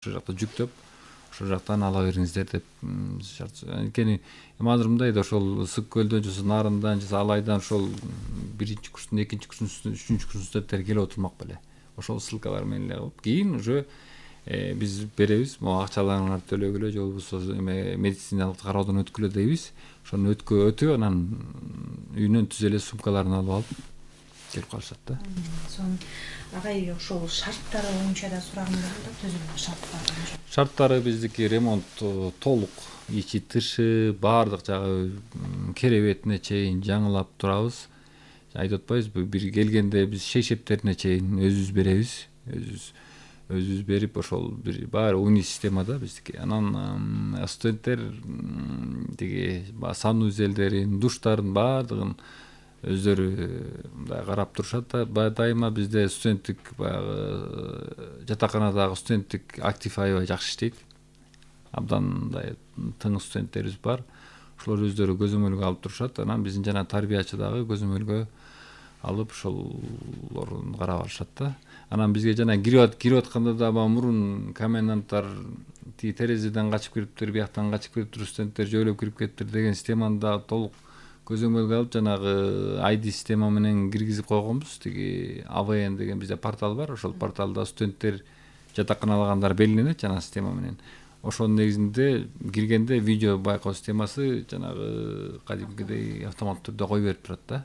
ошол жакта жүктөп ошол жактан ала бериңиздер деп шарт. Анткени азыр мындай да ошол Ысык көлдөн же Нарындан же Алайдан ошол биринчи курстун, экинчи курстун, үчүнчү курстун студенттери келип отурмак беле. Ошол ссылкалар менен эле кылып кийин уже биз беребиз. Могу акчаларыңарды төлөгүлө же болбосо медициналык кароодон өткүлө дейбиз. Ошону өтүп анан үйүнөн түз эле сумкаларын алып алып келип калышат да. Сонун агай ошол шарттары боюнча да сурагым бар да, түзүлгөн шарттар боюнча. Шарттары биздики ремонт толук, ичи тышы баардык жагы керебетине чейин жаңылап турабыз. Айтып атпайбызбы, бир келгенде биз шейшептерине чейин өзүбүз беребиз. Өзүбүз берип ошол бир баары уни системада биздики. Анан студенттер тиги санузелдерин, душтарын баардыгын өздөрү мындай карап турушат да. Дайыма бизде студенттик баягы жатаканадагы студенттик актив аябай жакшы иштейт. Абдан мындай тың студенттерибиз бар. Ошолор өздөрү көзөмөлгө алып турушат. Анан биздин жана тарбиячы дагы көзөмөлгө алып ошолорун карап алышат да. Анан бизге жана кирип атканда да мурун коменданттар тиги терезеден качып кириптир, бияктан качып кириптир, студенттер жөөлөп кирип кетиптир деген системаны да толук көзөмөлгө алып жанагы ID система менен киргизип койгонбуз. Тиги AVN деген бизде портал бар. Ошол порталда студенттер жатаканалагандар белгиленет жана система менен. Ошонун негизинде киргенде видео байкоо системасы жанагы кадимкидей автоматтуу түрдө кой берип турат да.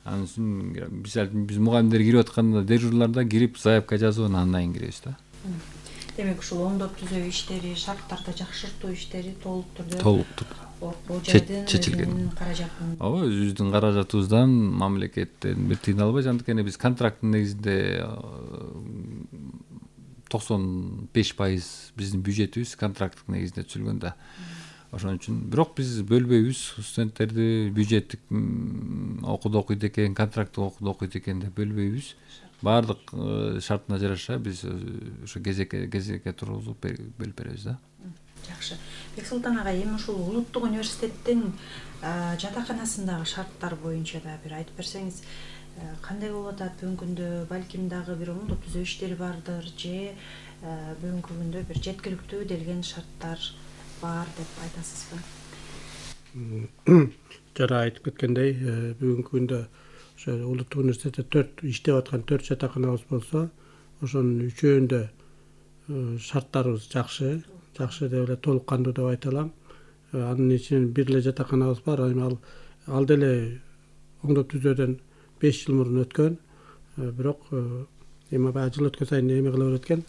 Анын үчүн биз мугалимдер кирип атканда дежурларда кирип заявка жазып анан айын киребиз да. Демек ушул оңдоп түзөө иштери, шарттарды жакшыртуу иштери толук түрдө чечилген. Ооба, өзүбүздүн каражатыбыздан, мамлекеттен бир тыйын албайбыз. Анткени биз контракттын негизинде 95% биздин бюджетибиз контракттык негизинде түзүлгөн да. Ошон үчүн бирок биз бөлбөйбүз студенттерди. Бюджеттик окууда окуйт экен, контракттык окууда окуйт экен деп бөлбөйбүз. Баардык шартына жараша биз ошо кезекке тургузуп бөлүп беребиз да. Жакшы. Бексултан агай, эми ушул улуттук университеттин жатаканасындагы шарттар боюнча да бир айтып берсеңиз, кандай болуп атат бүгүнкү күндө? Балким дагы бир оңдоп түзөө иштери бардыр же бүгүнкү күндө бир жеткиликтүү делген шарттар бар деп айтасызбы? Жана айтып кеткендей, бүгүнкү күндө ошо улуттук университетте 4 иштеп аткан 4 жатаканабыз болсо, ошонун үчөөндө шарттарыбыз жакшы деп эле толук кандуу деп айта алам. Анын ичинен бир эле жатаканабыз бар. Ал деле оңдоп түзөөдөн 5 жыл мурун өткөн. Бирок эми баягы жыл өткөн сайын эме кыла берет экен.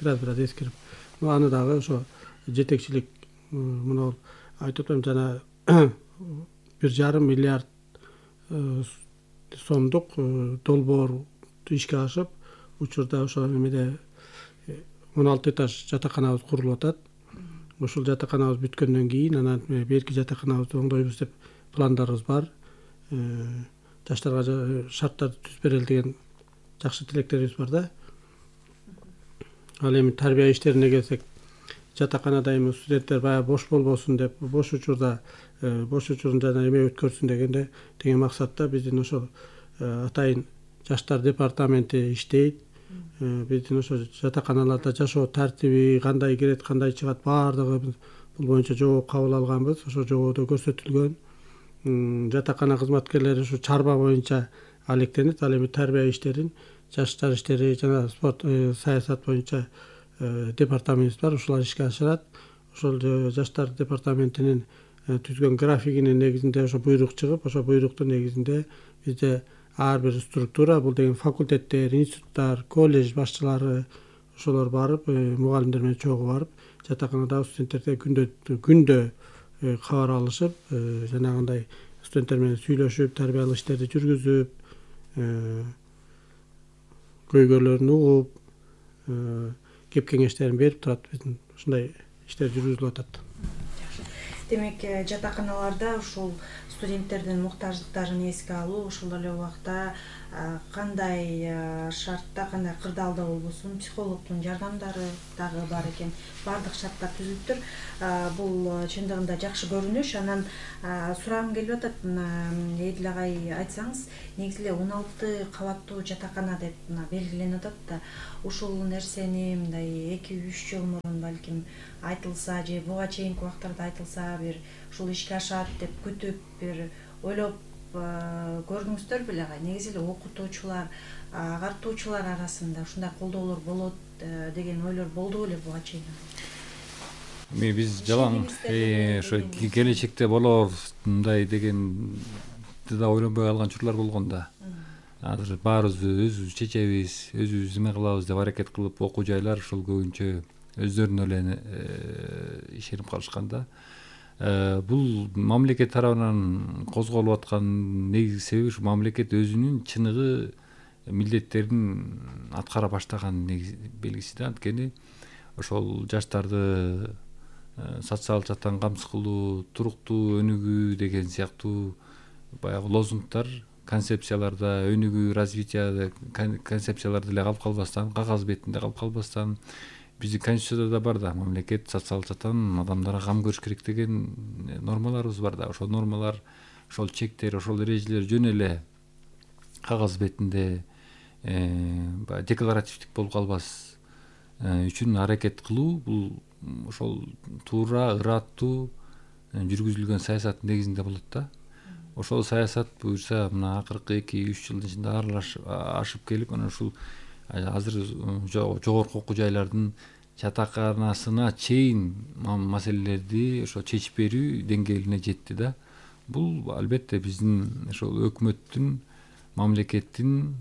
Бираз эскирип. Аны дагы ошо жетекчилик мына айтып атам, жана 1,5 миллиард сомдук долбоор ишке ашып, учурда ошо эмеде 16 этаж жатаканабыз курулуп атат. Ушул жатаканабыз бүткөндөн кийин анан берки жатаканабызды оңдойбуз деп пландарыбыз бар. Жаштарга шарттарды түзүп берели деген жакшы тилектерибиз бар да. Ал эми тарбия иштерине келсек, жатаканада эми студенттер баягы бош болбосун деп, бош учурун жана эме өткөрсүн деген максатта биздин ошол атайын жаштар департаменти иштейт. Биздин ошо жатаканаларда жашоо тартиби, кандай кирет, кандай чыгат, баардыгы бул боюнча жобо кабыл алганбыз. Ошо жободо көрсөтүлгөн. Жатакана кызматкерлери ушу чарба боюнча алектенет. Ал эми тарбия иштерин, жаштар иштери жана спорт, саясат боюнча департаментибиз бар. Ушулар ишке ашырат. Ошол жаштар департаментинин түзгөн графигинин негизинде ошо буйрук чыгып, ошо буйруктун негизинде бизде ар бир структура, бул деген факультеттер, институттар, колледж башчылары ошолор барып, мугалимдер менен чогуу барып, жатаканадагы студенттерге күндө кабар алышып, жанагындай студенттер менен сүйлөшүп, тарбиялык иштерди жүргүзүп, көйгөйлөрүн угуп, кеп кеңештерин берип турат. Биздин ушундай иштер жүргүзүлүп атат. Демек, жатаканаларда ушул студенттердин муктаждыктарын эске алуу, ошол эле убакта кандай шартта, кандай кырдаалда болбосун психологдун жардамдары дагы бар экен. Баардык шарттар түзүлүптүр. Бул чындыгында жакшы көрүнүш. Анан сурагым келип атат, Эдил агай айтсаңыз, негизи эле 16 кабаттуу жатакана деп белгиленип атат да, ушул нерсени мындай 2-3 жыл мурун балким айтылса же буга чейинки убактарда айтылса, бир ушул ишке ашат деп күтүп бир ойлоп көрдүңүздөр беле агай? Негизи эле окутуучулар, агартуучулар арасында ушундай колдоолор болот деген ойлор болду беле буга чейин? Биз жалаң ошо келечекте болор мындай дегенди да ойлонбой калган учурлар болгон да. Азыр баарыбыз өзүбүз чечебиз, өзүбүз эме кылабыз деп аракет кылып, окуу жайлар ошол көбүнчө өздөрүнө эле ишенип калышкан да. Бул мамлекет тарабынан козголуп аткан негизги себеби ушу мамлекет өзүнүн чыныгы милдеттерин аткара баштаган белгиси да. Анткени ошол жаштарды социалдык жактан камсыз кылуу, туруктуу өнүгүү деген сыяктуу баягы лозунгдар, концепцияларда, өнүгүү, развитие концепцияларда эле калып калбастан, кагаз бетинде калып калбастан, биздин конституцияда да бар да, мамлекет социалдык жактан адамдарга кам көрүш керек деген нормаларыбыз бар да. Ошол нормалар, ошол чектер, ошол эрежелер жөн эле кагаз бетинде декларативдик болуп калбас үчүн аракет кылуу, бул ошол туура, ыраттуу жүргүзүлгөн саясаттын негизинде болот да. Ошол саясат буюрса мына акыркы 2-3 жылдын ичинде ашып келип, анан ушул азыр жогорку окуу жайлардын жатаканасына чейин маселелерди ошо чечип берүү деңгээлине жетти да. Бул албетте биздин ошол өкмөттүн, мамлекеттин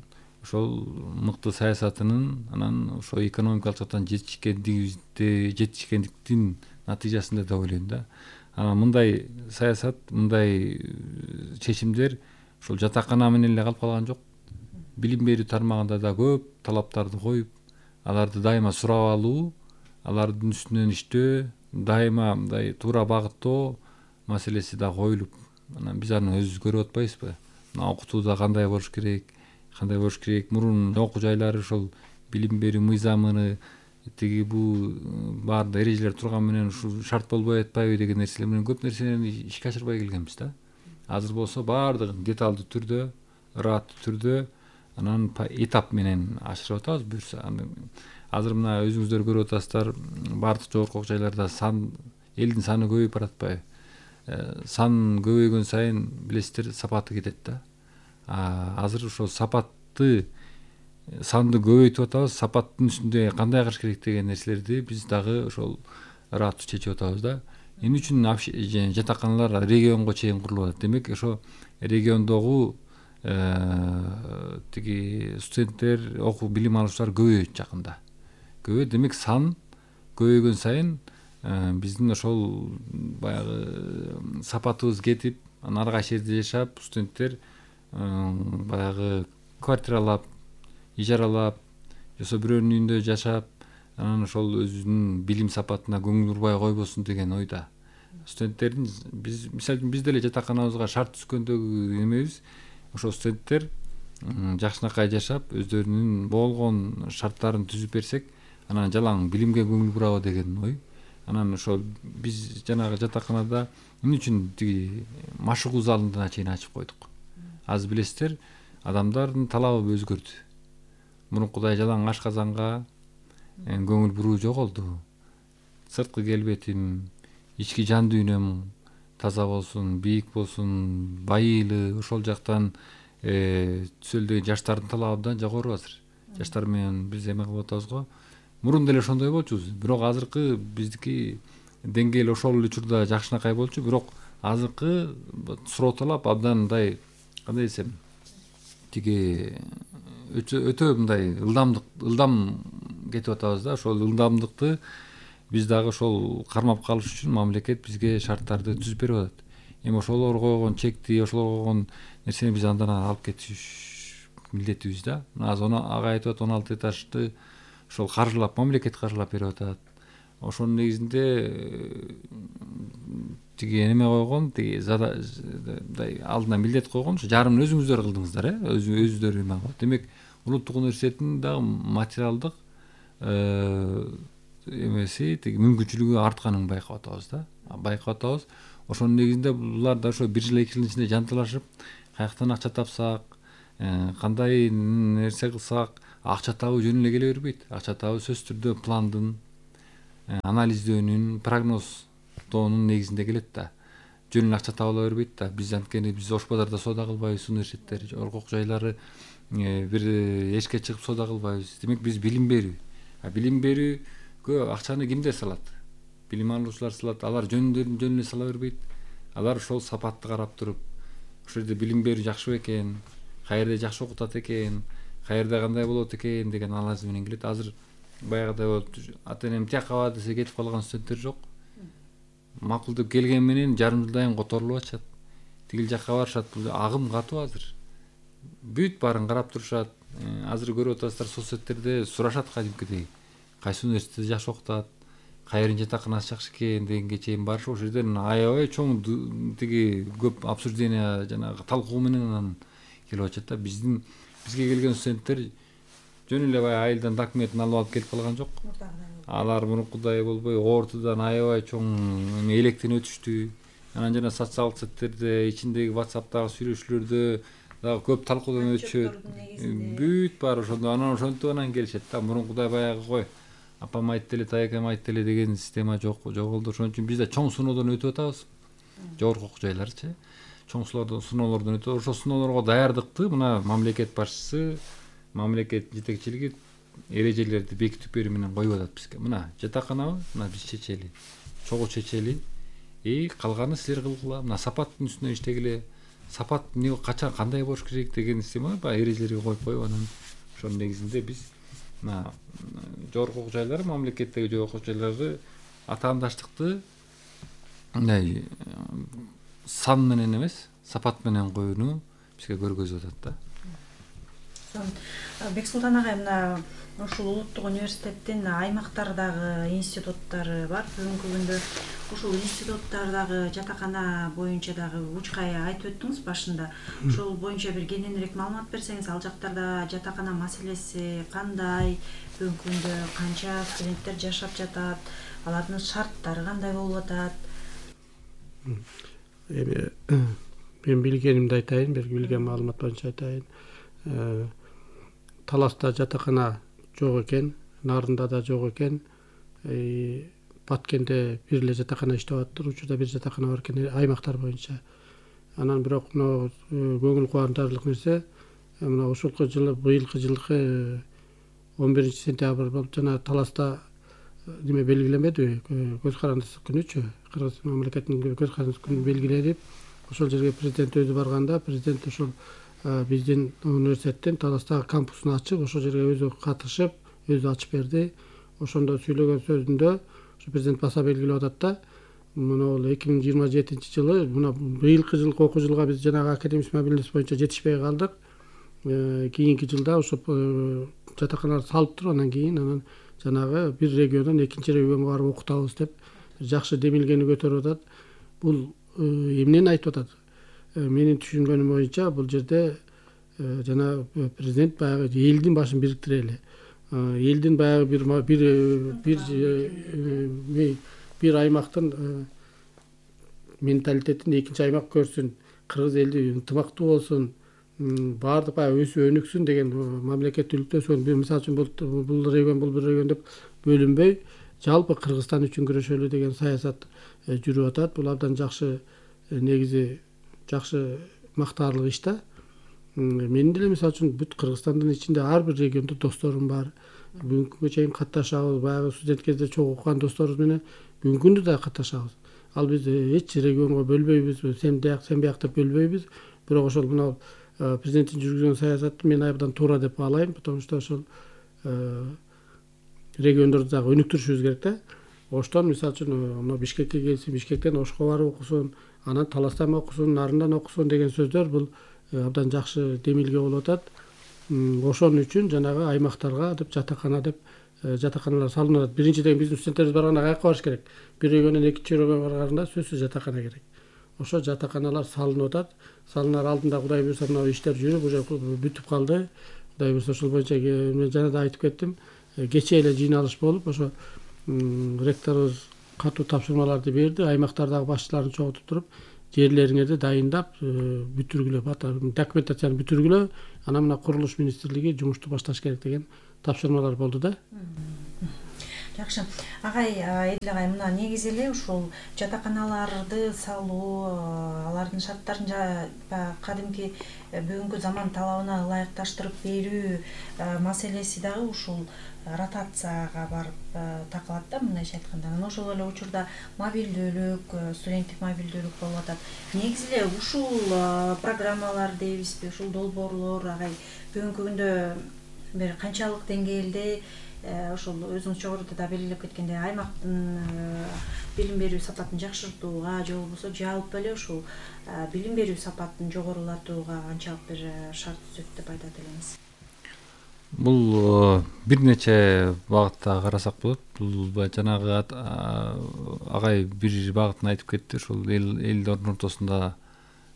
ошол мыкты саясатынын, анан ошо экономикалык жактан жетишкендиктин натыйжасында деп ойлойм да. Анан мындай саясат, мындай чечимдер ошол жатакана менен эле калып калган жок. Билим берүү тармагында да көп талаптарды коюп, аларды дайыма сурап алуу, алардын үстүнөн иштөө, дайыма мындай туура багыттоо маселеси да коюлуп, анан биз аны өзүбүз көрүп атпайбызбы? Мына окутууда кандай болуш керек, мурун окуу жайлары ошол билим берүү мыйзамыны тиги бул баардык эрежелер турган менен ушул шарт болбой атпайбы деген нерселер менен көп нерсени ишке ашырбай келгенбиз да. Азыр болсо баардыгын деталдуу түрдө, ыраттуу түрдө, анан этап менен ашырып атабыз буюрса. Азыр мына өзүңүздөр көрүп атасыздар, баардык жогорку окуу жайларда элдин саны көбөйүп баратпайбы? Сан көбөйгөн сайын билесиздер, сапаты кетет да. Азыр ошол санды көбөйтүп атабыз, сапаттын үстүндө кандай кылыш керек деген нерселерди биз дагы ошол ыраттуу чечип атабыз да. Эмне үчүн жатаканалар регионго чейин курулуп атат? Демек ошо региондогу тиги студенттер, билим алуучулар көбөйөт жакында. Демек сан көбөйгөн сайын биздин ошол баягы сапатыбыз кетип, анан ар кайсы жерде жашап, студенттер баягы квартиралап, ижаралап, жосо бирөөнүн үйүндө жашап, анан ошол өзүнүн билим сапатына көңүл бурбай койбосун деген ойда. Студенттердин мисалы үчүн биз деле жатаканабызга шарт түзгөндөгү эмебиз, ошол студенттер жакшынакай жашап, өздөрүнүн болгон шарттарын түзүп берсек, анан жалаң билимге көңүл бурабы деген ой. Анан ошол биз жанагы жатаканада эмне үчүн тиги машыгуу залына чейин ачып койдук? Азыр билесиздер, адамдардын талабы өзгөрдү. Мурункудай жалаң ашказанга көңүл буруу жоголду. Сырткы келбетим, ички жан дүйнөм таза болсун, бийик болсун, байыйлы, ошол жактан түсөлү деген жаштардын талабы да жогору азыр. Жаштар менен биз эме кылып атабыз го. Мурун деле ошондой болчубуз. Бирок азыркы биздики деңгээл ошол эле учурда жакшынакай болчу, бирок азыркы суроо талап абдан мындай, кандай десем, тиги өтө мындай ылдам кетип атабыз да. Ошол ылдамдыкты биз дагы ошол кармап калыш үчүн мамлекет бизге шарттарды түзүп берип атат. Эми ошолор койгон чекти, ошолор койгон нерсени биз андан алып кетиш милдетибиз да. Азыр ага айтып атат 16 этажды ошол мамлекет каржылап берип атат. Ошонун негизинде тиги эме койгон, тиги алдына милдет койгон, ошо жарымын өзүңүздөр кылдыңыздар, өзүлөрү эме кылып. Демек улуттук университеттин дагы материалдык эмеси, тиги мүмкүнчүлүгү артканын байкап атабыз да. Байкап атабыз. Ошонун негизинде булар да ошо 1 жыл 2 жылдын ичинде жанталашып, каяктан акча тапсак, кандай нерсе кылсак, акча табуу жөн эле келе бербейт. Акча табуу сөзсүз түрдө пландын, анализдөөнүн, прогноздоонун негизинде келет да. Жөн эле акча табыла бербейт да. Биз анткени биз Ош базарда соода кылбайбыз, университеттер, оркок жайлары бир эшикке чыгып соода кылбайбыз. Демек биз билим берүү. Билим берүүгө акчаны кимдер салат? Билим алуучулар салат. Алар жөн эле сала бербейт. Алар ошол сапатты карап туруп, ошол жерде билим берүү жакшы экен, каерде жакшы окутат экен, каерде кандай болот экен деген анализ менен келет. Азыр баягыдай болуп ата энем тияка десе кетип калган студенттер жок. Макул деп келген менен жарым жылдан которулуп атышат. Тигил жакка барышат. Бул агым катуу азыр. Бүт баарын карап турушат. Азыр көрүп атасыздар соцсеттерде сурашат кадимкидей. Кайсы университетте жакшы окутат, кайрын жатаканасы жакшы экен дегенге чейин барышып, ошол жерден аябай чоң тиги көп обсуждение жанагы талкуу менен анан келип атышат да. Бизге келген студенттер жөн эле баягы айылдан документин алып алып келип калган жок. Алар мурункудай болбой ортодон аябай чоң электен өтүштү. Анан жана социалдык сеттерде, ичиндеги WhatsApp'тагы сүйлөшүүлөрдө дагы көп талкуудан өтүшөт. Бүт баары ошондо анан ошентип анан келишет да. Мурункудай баягы кой апам айтты эле, тайкам айтты эле деген система жок болду. Ошон үчүн биз да чоң сыноодон өтүп атабыз. Жогорку окуу жайларчы. Чоң сыноолордон өтүп, ошол сыноолорго даярдыкты мына мамлекет башчысы, мамлекет жетекчилиги эрежелерди бекитип берүү менен коюп атат бизге. Мына жатаканабы, мына биз чечели, чогуу чечели, калганы силер кылгыла. Мына сапаттын үстүнө иштегиле. Сапат эмне качан кандай болуш керек деген система баягы эрежелерге коюп анан ошонун негизинде биз мына жогорку окуу жайлар, мамлекеттеги жогорку окуу жайларды атаандаштыкты мындай сан менен эмес, сапат менен коюуну бизге көргөзүп атат да. Бексултан агай, мына ушул улуттук университеттин аймактардагы институттары бар. Бүгүнкү күндө ушул институттардагы жатакана боюнча дагы учкай айтып өттүңүз башында. Ошол боюнча бир кененирээк маалымат берсеңиз, ал жактарда жатакана маселеси кандай, бүгүнкү күндө канча студенттер жашап жатат, алардын шарттары кандай болуп атат? Мен билгенимди айтайын, билген маалымат боюнча айтайын. Таласта жатакана жок экен, Нарында да жок экен. Баткенде бир эле жатакана иштеп атыптыр, учурда бир жатакана бар экен аймактар боюнча. Анан бирок мына көңүл кубандырарлык нерсе, мына ушулку жылы, быйылкы жылкы 11-сентябрь болуп жана Таласта неме белгиленбеди, көз карандысы күнүчү, Кыргыз мамлекетинин көз карандысы күнү белгиленип, ошол жерге президент өзү барганда, президент ошол биздин университеттин Таластагы кампусун ачып, ошол жерге өзү катышып, өзү ачып берди. Ошондо сүйлөгөн сөзүндө президент баса белгилеп атат да, мына 2027-жылы, мына быйылкы жылкы окуу жылга биз жанагы академик мобилдүүлүк боюнча жетишпей калдык. Кийинки жылда ошо жатаканалар салып туруп, анан кийин жанагы бир региондон экинчи регионго барып окутабыз деп жакшы демилгени көтөрүп атат. Бул эмнени айтып атат? Менин түшүнгөнүм боюнча бул жерде жана президент баягы элдин башын бириктире эле. Элдин баягы бир аймактын менталитетин экинчи аймак көрсүн, кыргыз элди ынтымактуу болсун, баардык баягы өсүп өнүксүн деген мамлекеттүүлүктө мисалы үчүн бул регион бул бир регион деп бөлүнбөй, жалпы Кыргызстан үчүн күрөшөлү деген саясат жүрүп атат. Бул абдан жакшы, негизи жакшы мактаарлык иш да. Мен деле мисалы үчүн бүт Кыргызстандын ичинде ар бир региондо досторум бар. Бүгүнкү күнгө чейин катташабыз, баягы студент кезде чогуу окуган досторубуз менен бүгүнкү күндө да катташабыз. Ал биз эч регионго бөлбөйбүз, сен бияк деп бөлбөйбүз. Бирок ошол мына президенттин жүргүзгөн саясаты мен абдан туура деп баалайм, потому что ошол региондорду дагы өнүктүрүшүбүз керек да. Оштон мисалы үчүн мына Бишкекке келсин, Бишкектен Ошко барып окусун, анан Таластан окусун, Нарындан окусун деген сөздөр бул абдан жакшы демилге болуп атат. Ошон үчүн жанагы аймактарга деп жатакана деп жатаканалар салынып атат. Биринчиден биздин студенттерибиз барганда каяка барыш керек? Бир өйгөнөн экинчи өйгөнгө барганда сөзсүз жатакана керек. Ошо жатаканалар салынып атат. Салынар алдында Кудай буюрса мына иштер жүрүп уже бүтүп калды. Кудай буюрса ошол боюнча мен жана да айтып кеттим. Кечээ эле жыйналыш болуп, ошо ректорубуз катуу тапшырмаларды берди. Аймактардагы башчыларын чогултуп туруп, жерлериңерди дайындап, бүтүргүлө, документацияны бүтүргүлө, анан мына курулуш министрлиги жумушту башташ керек деген тапшырмалар болду да. Жакшы. Агай, Эдил агай, мына негизи эле ушул жатаканаларды салуу, алардын шарттарын кадимки бүгүнкү заман талабына ылайыкташтырып берүү маселеси дагы ушул ротацияга барып такалат да, мындайча айтканда. Анан ошол эле учурда мобилдүүлүк, студенттик мобилдүүлүк болуп атат. Негизи эле ушул программалар дейбизби, ушул долбоорлор агай бүгүнкү күндө бир канчалык деңгээлде ошол өзүңүз жогоруда да белгилеп кеткендей аймактын билим берүү сапатын жакшыртууга же болбосо жалпы эле ушул билим берүү сапатын жогорулатууга канчалык бир шарт түзөт деп айтат элеңиз? Бул бир нече багытта карасак болот. Бул жанагы агай бир багытын айтып кетти. Ушул элдердин ортосунда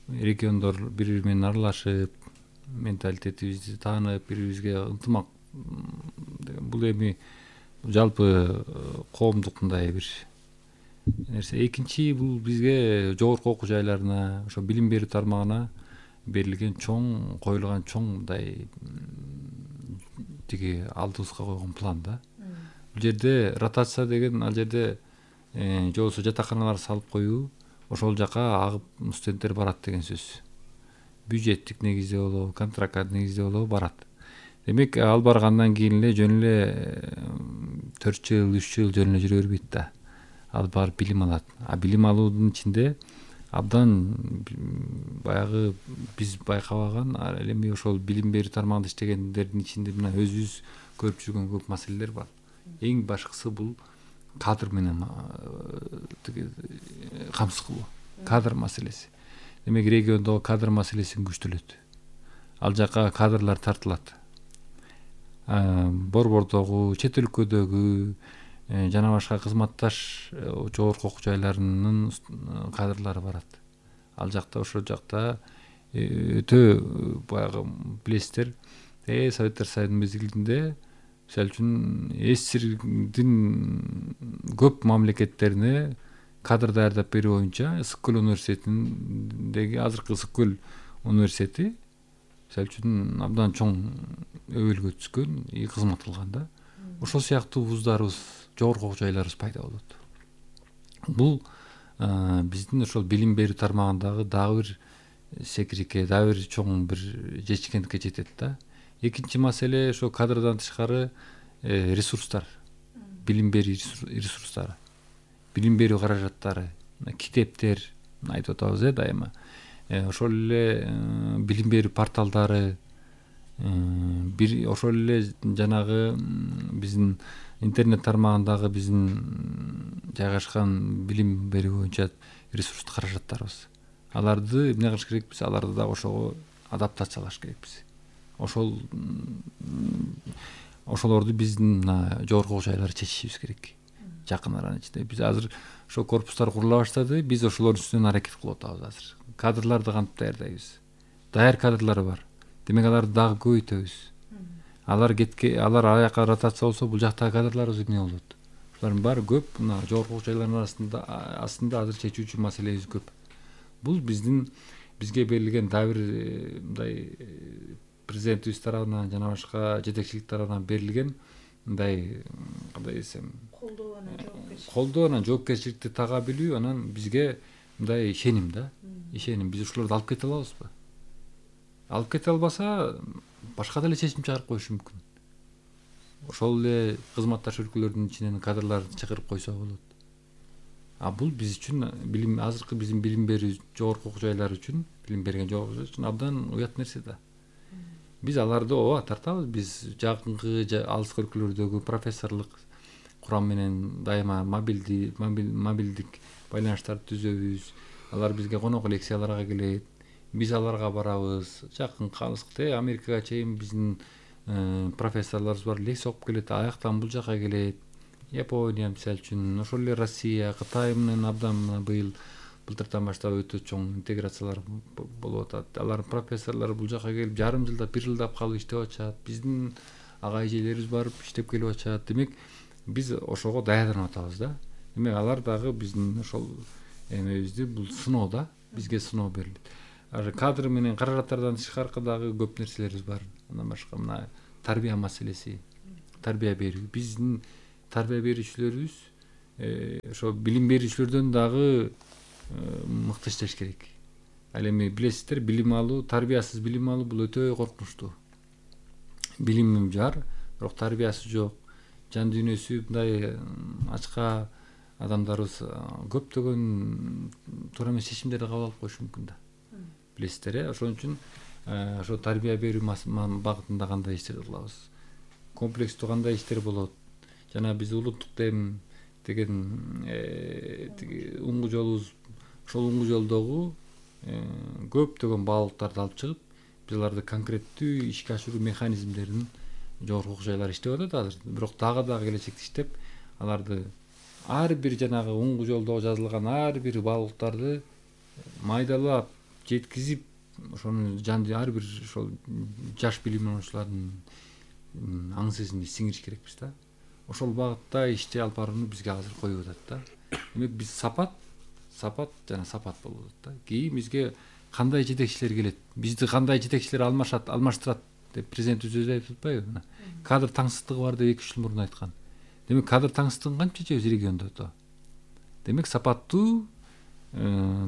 региондор бири-бири менен аралашып, менталитетибизди таанып, бири-бирибизге ынтымак, бул эми жалпы коомдук мындай бир нерсе. Экинчи, бул бизге жогорку окуу жайларына, ошо билим берүү тармагына берилген чоң, коюлган чоң мындай тиги алдыбызга койгон план да. Бул жерде ротация деген, ал жерде же болбосо жатаканалар салып коюу, ошол жака агып студенттер барат деген сөз. Бюджеттик негизде болобу, контракт негизде болобу барат. Демек, ал баргандан кийин эле жөн эле 4 жыл, 3 жыл жөн эле жүрө бербейт да. Ал барып билим алат. А билим алуунун ичинде абдан баягы биз байкабаган, ал эми ошол билим берүү тармагында иштегендердин ичинде мына өзүбүз көрүп жүргөн көп маселелер бар. Эң башкысы бул кадр менен камсыз кылуу. Кадр маселеси. Демек, региондогу кадр маселесин күчтөлөт. Ал жака кадрлар тартылат. Борбордогу, чет өлкөдөгү жана башка кызматташ жогорку окуу жайларынын кадрлары барат. Ал жакта, ошол жакта өтө баягы билесиздер, Советтер Союзунун мезгилинде мисалы үчүн СССРдин көп мамлекеттерине кадр даярдап берүү боюнча Ысык-Көл университетиндеги азыркы Ысык-Көл университети мисалы үчүн абдан чоң өбөлгө түшкөн, кызмат кылган да. Ошол сыяктуу вуздарыбыз, жогорку окуу жайларыбыз пайда болот. Бул биздин ошол билим берүү тармагындагы дагы бир секирике, дагы бир чоң бир жетишкендикке жетет да. Экинчи маселе ошо кадрдан тышкары ресурстар, билим берүү ресурстары, билим берүү каражаттары, китептер айтып атабыз дайыма. Ошол эле билим берүү порталдары, ошол эле жанагы биздин интернет тармагындагы биздин жайгашкан билим берүү боюнча ресурс каражаттарыбыз. Аларды эмне кылыш керекпиз? Аларды да ошого адаптациялаш керекпиз. Ошолорду биздин жогорку окуу жайлар чечишибиз керек. Жакын аранын ичинде биз азыр ошо корпустар курула баштады. Биз ошолордун үстүнөн аракет кылып атабыз азыр. Кадрларды кантип даярдайбыз? Даяр кадрлар бар. Демек, аларды дагы көбөйтөбүз. Алар аяка ротация болсо, бул жактагы кадрларыбыз эмне болот? Булардын баары көп, мына жогорку окуу жайлардын астында азыр чечүүчү маселебиз көп. Бул бизге берилген дагы бир мындай президентибиз тарабынан жана башка жетекчилик тарабынан берилген мындай кандай десем, колдоо анан жоопкерчиликти тага билүү, анан бизге мындай ишеним да. Ишеним, биз ушуларды алып кете алабызбы? Алып кете албаса, башка деле чечим чыгарып коюшу мүмкүн. Ошол эле кызматташ өлкөлөрдүн ичинен кадрларды чакырып койсо болот. А бул биз үчүн азыркы биздин билим берүү жогорку окуу жайлары үчүн, билим берген жогорку окуу жайлар үчүн абдан уят нерсе да. Биз аларды тартабыз. Биз жакынкы алыскы өлкөлөрдөгү профессорлук курам менен дайыма мобилдик байланыштарды түзөбүз. Алар бизге конок лекцияларга келет. Биз аларга барабыз. Жакынкы алыскы Америкага чейин биздин профессорлорубуз бар, лекс окуп келет, аяктан бул жака келет. Япония мисалы үчүн, ошол эле Россия, Кытай менен абдан былтыртан баштап өтө чоң интеграциялар болуп атат. Алардын профессорлору бул жака келип жарым жылдап, бир жылдап калып иштеп атышат. Биздин ага эжелерибиз барып иштеп келип атышат. Демек биз ошого даярданып атабыз да. Демек алар дагы биздин ошол эмебизди бул сыноо да, бизге сыноо берилет. Кадр менен каражаттардан тышкаркы дагы көп нерселерибиз бар. Андан башка мына тарбия маселеси, тарбия берүү. Биздин тарбия берүүчүлөрүбүз ошо билим берүүчүлөрдөн дагы мыкты иштеш керек. Ал эми билесиздер, билим алуу, тарбиясыз билим алуу бул өтө коркунучтуу. Билим жар, бирок тарбиясы жок. Жан дүйнөсү мындай ачка адамдарыбыз көптөгөн туура эмес чечимдерди кабыл алып коюшу мүмкүн да. Билесиздер, ошон үчүн ошо тарбия берүү багытында кандай иштер кылабыз? Комплекстүү кандай иштер болот? Жана биз улуттук дем деген уңгу жолубуз, ошол уңгу жолдогу көптөгөн баалуулуктарды алып чыгып, биз аларды конкреттүү ишке ашыруу механизмдерин жогорку окуу жайлар иштеп атат азыр. Бирок дагы келечекте иштеп, аларды ар бир жанагы уңгу жолдо жазылган ар бир баалуулуктарды майдалап жеткизип, ошону ар бир ошол жаш билим алуучулардын аң сезимине сиңириш керекпиз да. Ошол багытта ишти алып барууну бизге азыр коюп атат да. Демек биз сапат болуп атат да. Кийин бизге кандай жетекчилер келет, бизди кандай жетекчилер алмаштырат деп президентибиз өзү айтып атпайбы? Кадр таңсыздыгы бар деп 2-3 жыл мурун айткан. Демек кадр таңсыздыгын кантип чечебиз региондо? Демек сапаттуу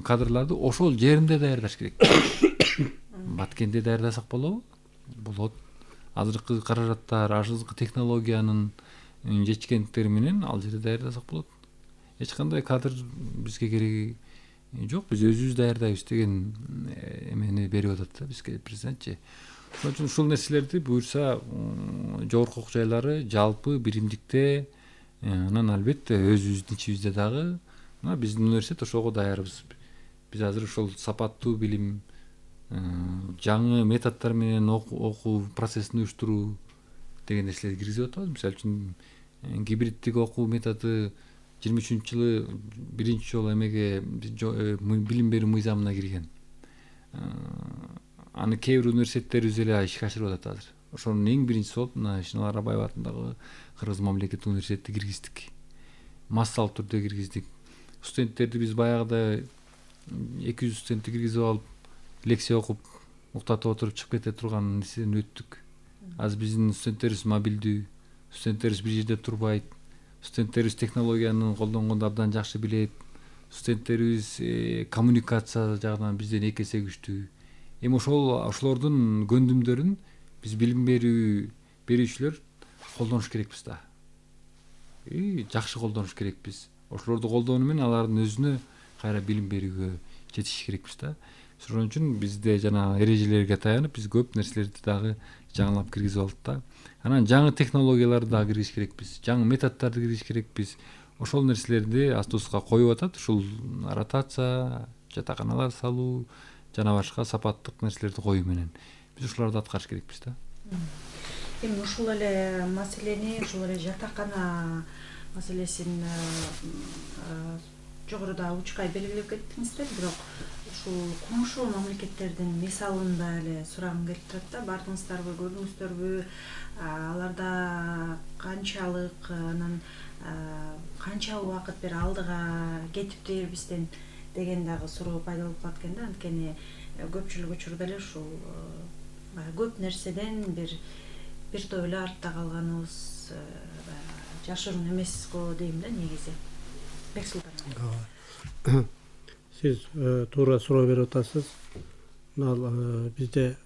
кадрларды ошол жеринде даярдаш керек. Баткенде даярдасак болобу? Болот. Азыркы каражаттар, азыркы технологиянын жетишкендиктери менен ал жерде даярдасак болот. Эч кандай кадр бизге кереги жок, биз өзүбүз даярдайбыз деген эмени берип атат да бизге президентчи. Ошон үчүн ушул нерселерди буюрса жогорку окуу жайлары жалпы биримдикте, анан албетте өзүбүздүн ичибизде дагы мына биздин университет ошого даярбыз. Биз азыр ошол сапаттуу билим, жаңы методдор менен окуу процессин уюштуруу деген нерселерди киргизип атабыз. Мисалы үчүн гибриддик окуу методу 23-жылы биринчи жолу эмеге билим берүү мыйзамына кирген. Аны кээ бир университеттерибиз эле ишке ашырып атат азыр. Ошонун эң биринчиси болуп мына Шынар Арбаева атындагы Кыргыз мамлекеттик университетти киргиздик. Массалык түрдө киргиздик. Студенттерди биз баягыда 200 студентти киргизип алып, лекция окуп, уктатып отуруп чыгып кете турган нерседен өттүк. Азыр биздин студенттерибиз мобилдүү, студенттерибиз бир жерде турбайт, студенттерибиз технологияны колдонгонду абдан жакшы билет, студенттерибиз коммуникация жагынан бизден 2 эсе күчтүү. Эми ошолордун көндүмдөрүн биз билим берүүчүлөр колдонуш керекпиз да. Жакшы колдонуш керекпиз. Ошолорду колдонуу менен алардын өзүнө кайра билим берүүгө жетиш керекпиз да. Ошон үчүн бизде жана эрежелерге таянып биз көп нерселерди дагы жаңылап киргизип алдык да. Анан жаңы технологияларды дагы киргизиш керекпиз, жаңы методдорду киргизиш керекпиз. Ошол нерселерди астыбызга коюп атат. Ушул ротация, жатаканалар салуу жана башка сапаттык нерселерди коюу менен биз ушуларды аткарыш керекпиз да. Эми ушул эле маселени, ушул эле жатакана маселесин жогоруда учкай белгилеп кеттиңиздер, бирок ушул коңшу мамлекеттердин мисалын да эле сурагым келип турат да. Бардыңыздарбы, көрдүңүздөрбү? Аларда канчалык, анан канча убакыт бир алдыга кетиптир бизден деген дагы суроо пайда болуп калат экен да. Анткени көпчүлүк учурда эле ушул көп нерседен бир топ эле артта калганыбыз жашыруун эмес го дейм да негизи. Бексултан. Сиз туура суроо берип атасыз. Мына бизде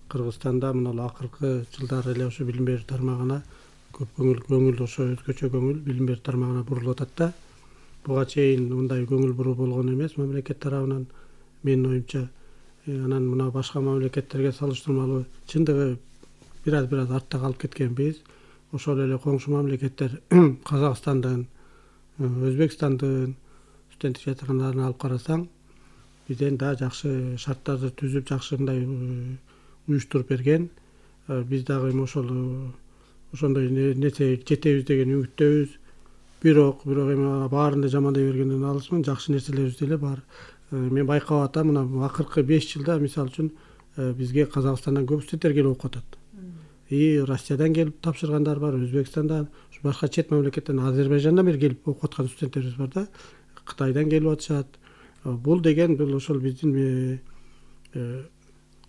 Кыргызстанда мына акыркы жылдары эле ошо билим берүү тармагына көп көңүл ошо өзгөчө көңүл билим берүү тармагына бурулуп атат да. Буга чейин мындай көңүл буруу болгон эмес мамлекет тарабынан, менин оюмча. Анан мына башка мамлекеттерге салыштырмалуу чындыгы бир аз артта калып кеткенбиз. Ошол эле коңшу мамлекеттер Казакстандын, Өзбекстандын студенттик жатаканаларын алып карасаң, бизден да жакшы шарттарды түзүп, жакшы мындай уюштуруп берген. биз дагы эми ошондой нерсе жетебиз деген үмүттөбүз. Бирок эми баарын да жамандай бергенден алысмын. Жакшы нерселерибиз деле бар. Мен байкап атам, мына акыркы 5 жылда мисалы үчүн бизге Казакстандан көп студенттер келип окуп атат. И Россиядан келип тапшыргандар бар, Өзбекстандан, башка чет мамлекеттен, Азербайжандан бери келип окуп аткан студенттерибиз бар да. Кытайдан келип атышат. Бул деген бул ошол биздин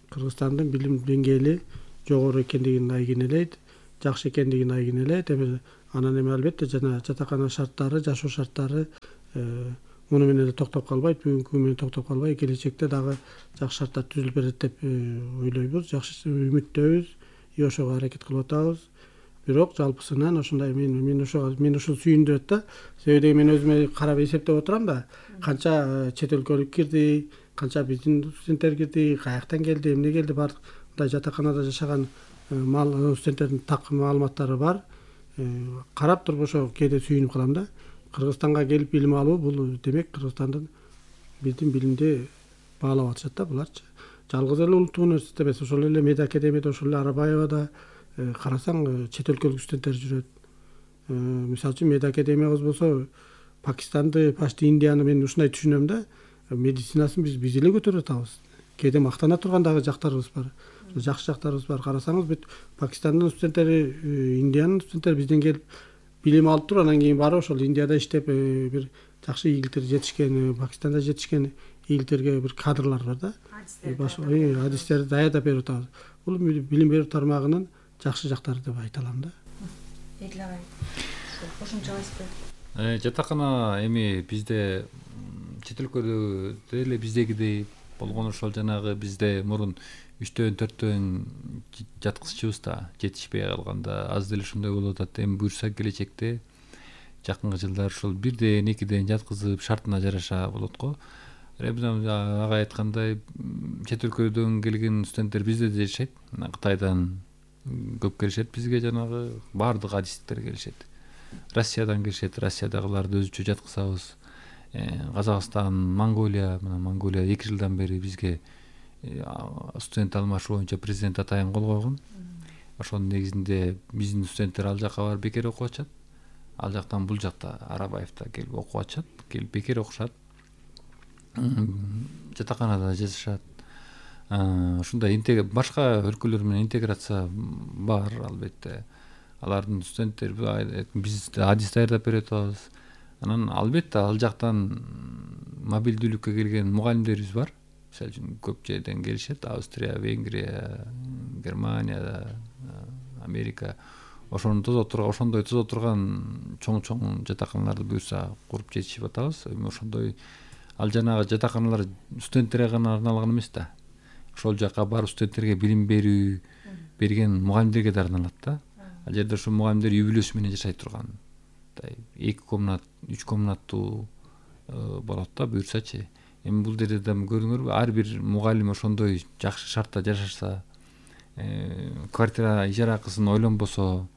Кыргызстандын билим деңгээли жогору экендигин айгинелейт, жакшы экендигин айгинелейт. Анан эми албетте жана жатакана шарттары, жашоо шарттары муну менен токтоп калбайт, бүгүнкү күнү менен токтоп калбай, келечекте дагы жакшы шарттар түзүлүп берет деп ойлойбуз. Жакшы үмүттөбүз, и ошого аракет кылып атабыз. Бирок жалпысынан ошондой мен ушул сүйүндүрөт да. Себеби мен өзүмө карап эсептеп отурам да, канча чет өлкөлүк кирди, канча биздин студенттер кирди, каяктан келди, эмне келди, баардык мындай жатаканада жашаган студенттердин так маалыматтары бар. Карап туруп ошо кээде сүйүнүп калам да. Кыргызстанга келип билим алуу бул демек Кыргызстандын биздин билимди баалап атышат да буларчы. Жалгыз эле улуттук университет эмес, ошол эле Мед академияда, ошол эле Арабаевада карасаң чет өлкөлүк студенттер жүрөт. Мисалы үчүн Мед академиябыз болсо Пакистанды, почти Индияны мен ушундай түшүнөм да. Медицинасын биз эле көтөрүп атабыз. Кээде мактана турган дагы жактарыбыз бар. Жакшы жактарыбыз бар. Карасаңыз бүт Пакистандын студенттери, Индиянын студенттери бизден келип билим алып туруп, анан кийин барып ошол Индияда иштеп бир жакшы ийгиликтерге жетишкен, Пакистанда жетишкен ийгиликтерге бир кадрлар бар да. Адистерди даярдап берип атабыз. Бул билим берүү тармагынын жакшы жактары деп айта алам да. Эдил агай, кошумчалайсызбы? Жатакана эми бизде чет өлкөдө деле биздегидей болгон ошол жанагы бизде мурун 3-төн 4төн жаткызчубуз да, жетишпей калганда аз деле ошондой болуп атат. Эми буюрса келечекте жакынкы жылдар ушул 1ден 2ден жаткызып шартына жараша болот го. Агай айткандай, чет өлкөдөн келген студенттер бизде да жашайт. Кытайдан көп келишет бизге, жанагы баардык адистиктер келишет. Россиядан келишет, Россиядагыларды өзүчө жаткызабыз. Казакстан, Монголия 2 жылдан бери бизге студент алмашуу боюнча президент атайын кол койгон. Ошонун негизинде биздин студенттер ал жака барып бекер окуп атышат. Ал жактан бул жакта Арабаевда келип окуп атышат, келип бекер окушат. Жатаканада жашашат. Ушундай башка өлкөлөр менен интеграция бар албетте. Алардын студенттери биз адис даярдап берип атабыз. Анан албетте ал жактан мобилдүүлүккө келген мугалимдерибиз бар. Мисалы үчүн көп жерден келишет. Австрия, Венгрия, Германия, Америка. Ошондой тозо турган чоң жатаканаларды буюрса куруп жетишип атабыз. Ошондой ал жанагы жатаканалар студенттерге гана арналган эмес да. Ошол жака барып студенттерге билим берүү берген мугалимдерге да арналат да. Ал жерде ошо мугалимдер үй бүлөсү менен жашай турган. 2 комнат, 3 комнаттуу болот да буюрсачы. Эми бул жерде да көрүңөрбү, ар бир мугалим ошондой жакшы шартта жашаса, квартира ижара акысын ойлонбосо,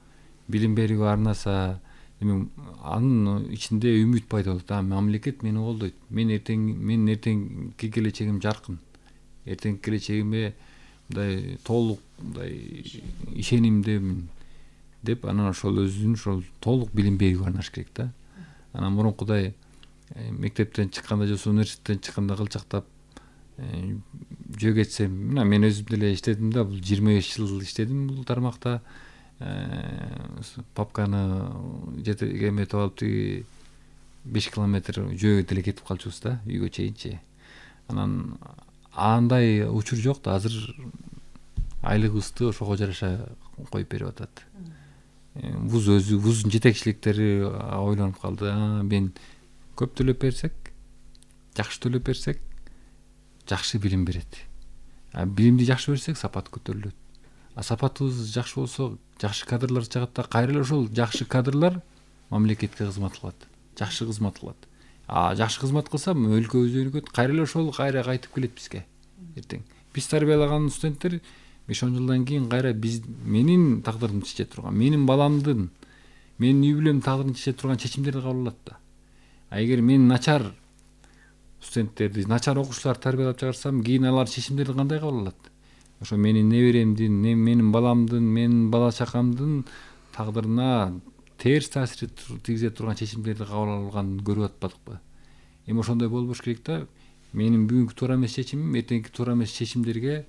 билим берүүгө арнаса, эми анын ичинде үмүт пайда болот. Мамлекет мени колдойт. Мен эртеңки келечегим жаркын. Эртеңки келечегиме мындай толук мындай ишенимдемин деп, анан ошол өзүнүн ошол толук билим берүүгө арнаш керек да. Анан мурункудай мектептен чыкканда же университеттен чыкканда кылчактап жөө кетсем, мен өзүм деле иштедим да, бул 25 жыл иштедим бул тармакта. Папканы эметип алып тиги 5 километр жөө деле кетип калчубуз да, үйгө чейинчи. Анан андай учур жок да, азыр айлыгыбызды ошого жараша коюп берип атат. Вуздун жетекчиликтери ойлонуп калды. Мен көп төлөп берсек, жакшы төлөп берсек, жакшы билим берет. Билимди жакшы берсек, сапат көтөрүлөт. Сапатыбыз жакшы болсо, жакшы кадрлар чыгат да, кайра эле ошол жакшы кадрлар мамлекетке кызмат кылат, жакшы кызмат кылат. Жакшы кызмат кылса, өлкөбүз өнүгөт, кайра эле ошол кайтып келет бизге. Эртең биз тарбиялаган студенттер 5-10 жылдан кийин кайра менин тагдырымды чече турган, менин баламдын, менин үй бүлөмдүн тагдырын чече турган чечимдерди кабыл алат да. Эгер мен начар студенттерди, начар окуучуларды тарбиялап чыгарсам, кийин алар чечимдерди кандай кабыл алат? ошо менин неберемдин, менин баламдын, менин бала чакамдын тагдырына терс таасир тийгизе турган чечимдерди кабыл алганын көрүп атпадыкпы? Эми ошондой болбош керек да. Менин бүгүнкү туура эмес чечимим эртеңки туура эмес чечимдерге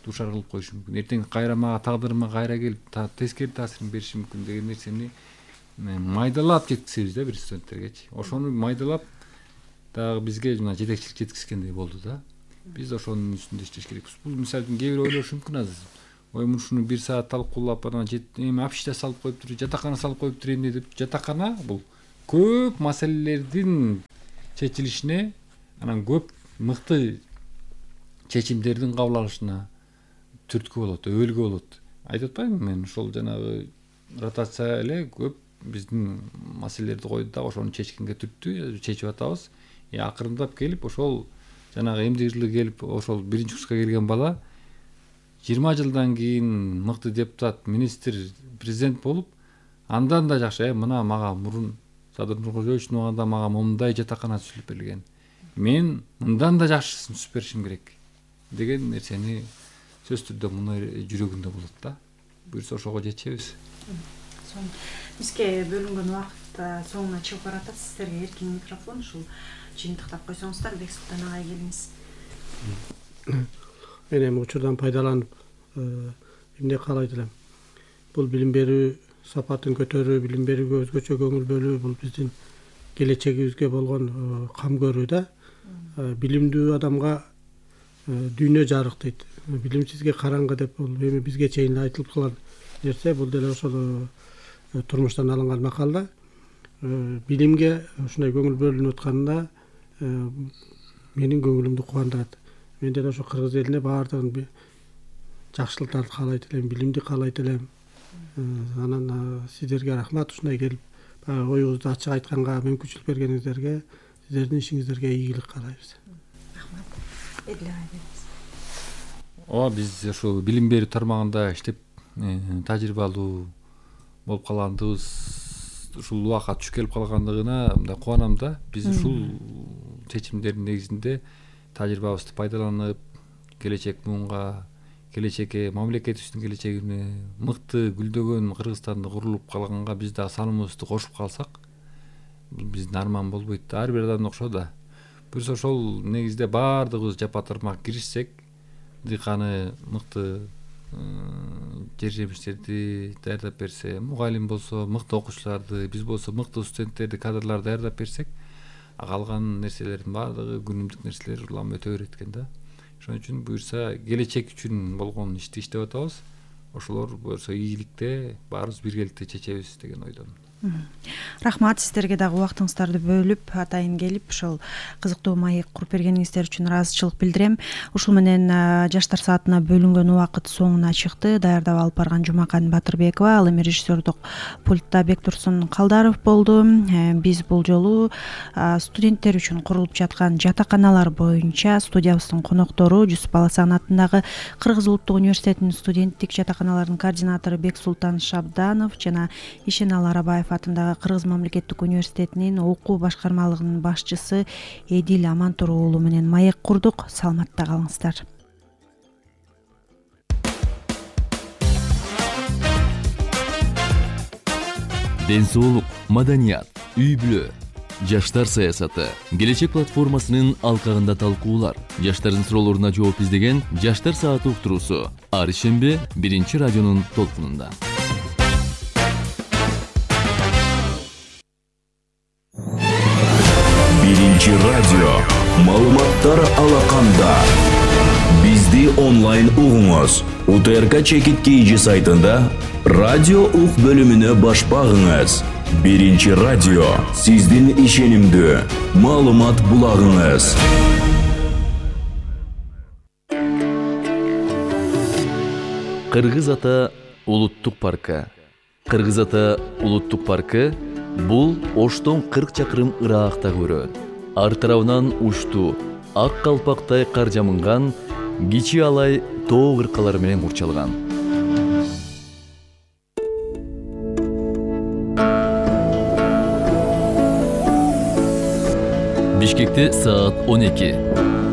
дуушар кылып коюшу мүмкүн. Эртең кайра мага тагдырыма кайра келип тескери таасирин бериши мүмкүн деген нерсени майдалап жеткизебиз да бир студенттергечи. Ошону майдалап дагы бизге жана жетекчилик жеткизгендей болду да. Биз ошонун үстүндө иштеш керекпиз. Бул мисалы үчүн кээ бирөө ойлошу мүмкүн азыр. Ой, ушуну 1 саат талкуулап анан эми общежитие салып коюптур, жатакана салып коюп турайын деп. Жатакана бул көп маселелердин чечилишине, анан көп мыкты чечимдердин кабыл алышына түрткү болот, өбөлгө болот. Айтып атпаймынбы мен, ошол жанагы ротация эле көп биздин маселелерди койду да, ошону чечкенге түрттү, чечип атабыз. Акырындап келип ошол жанагы эмдик жылы келип ошол 1-курска келген бала 20 жылдан кийин мыкты депутат, министр, президент болуп, андан да жакшы, мына мага мурун Садыр Нуркожоевичтин убагында мага мындай жатакана түзүлүп берилген. Мен мындан да жакшысын түзүп беришим керек деген нерсени сөзсүз түрдө муну жүрөгүндө болот да. Буюрса ошого жетишебиз. Бизге бөлүнгөн убакыт соңуна чыгып баратат. Сиздерге эркин микрофон, ушул жыйынтыктап койсоңуздар, Бексултан агай келиңиз. Мен эми учурдан пайдаланып эмне каалайт элем. Бул билим берүү сапатын көтөрүү, билим берүүгө өзгөчө көңүл бөлүү, бул биздин келечегибизге болгон кам көрүү да. Билимдүү адамга дүйнө жарык дейт. Билимсизге караңгы деп, бул эми бизге чейин айтылып калган нерсе, бул деле ошол турмуштан алынган макал да. Билимге ушундай көңүл бөлүнүп атканына менин көңүлүмдү кубандырат. Мен деле ошо кыргыз элине баардыгын жакшылыктарды каалайт элем, билимди каалайт элем. Анан сиздерге рахмат, ушундай келип оюңузду ачык айтканга мүмкүнчүлүк бергениңиздерге, сиздердин ишиңиздерге ийгилик каалайбыз. Рахмат. Эдил агай. Биз ошо билим берүү тармагында иштеп тажрыйбалуу болуп калгандыгыбыз, ушул убакка түшүп келип калгандыгына мындай кубанам да. Биз ушул чечимдердин негизинде тажрыйбабызды пайдаланып, келечек муунга, келечекке, мамлекетибиздин келечегине мыкты гүлдөгөн Кыргызстанды курулуп калганга биз дагы саныбызды кошуп калсак, бул биздин арман болбойт да. Ар бир адам окшо да. Буюрса ошол негизде баардыгыбыз жапа-тармак киришсек, дыйканы мыкты жер жемиштерди даярдап берсе, мугалим болсо мыкты окуучуларды, биз болсо мыкты студенттерди, кадрларды даярдап берсек, калган нерселердин баардыгы күнүмдүк нерселер улам өтө берет экен да. Ошон үчүн буюрса келечек үчүн болгон ишти иштеп атабыз. Ошолор буюрса ийгиликте баарыбыз биргеликте чечебиз деген ойдомун. Рахмат, сиздерге дагы убактыңыздарды бөлүп, атайын келип, ошол кызыктуу маек куруп бергениңиздер үчүн ыраазычылык билдирем. Ушул менен жаштар саатына бөлүнгөн убакыт соңуна чыкты. Даярдап алып барган Жумакан Батырбекова, ал эми режиссердук пультта Бектурсун Калдаров болду. Биз бул жолу студенттер үчүн курулуп жаткан жатаканалар боюнча студиябыздын коноктору Жусуп Баласан атындагы Кыргыз улуттук университетинин студенттик жатаканаларынын координатору Бексултан Шабданов жана Ишеналы Арабаев атындагы Кыргыз мамлекеттик университетинин окуу башкармалыгынын башчысы Эдил Амантур уулу менен маек курдук. Саламатта калыңыздар. Ден соолук, маданият, үй-бүлө, жаштар саясаты, келечек платформасынын алкагында талкуулар, жаштардын суроолоруна жооп издеген Жаштар сааты уктуруусу ар ишемби 1 радионун толкунунда. Радио маалыматтар алаканда. Бизди онлайн угуңуз. УТРК Чекит KG сайтында радио ук бөлүмүнө баш багыңыз. 1 радио сиздин ишенимдүү маалымат булагыңыз. Кыргыз Ата улуттук паркы. Кыргыз Ата улуттук паркы бул Оштон 40 чакырым ыраагакта көрөт. Ар тарабынан уштуу, ак калпактай кар жамынган, кичи алай тоо кыркалары менен курчалган. Бишкекте саат 12.